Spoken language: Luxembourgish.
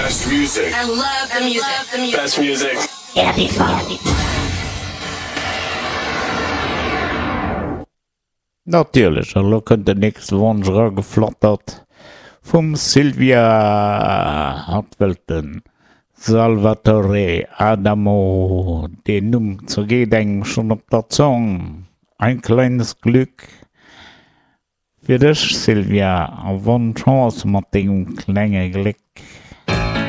Best music. I love the music. Best music. Natierlech, a lo kënnt den nächste Wonsch erageflattert vum Sylvia. Hatt wëllt de Salvatore Adamo. Deen Numm zergeet engem schonn op der Zong. Ein kleines Glück fir dech, Sylvia, a bonne Chance mat dengem klenge Gléck.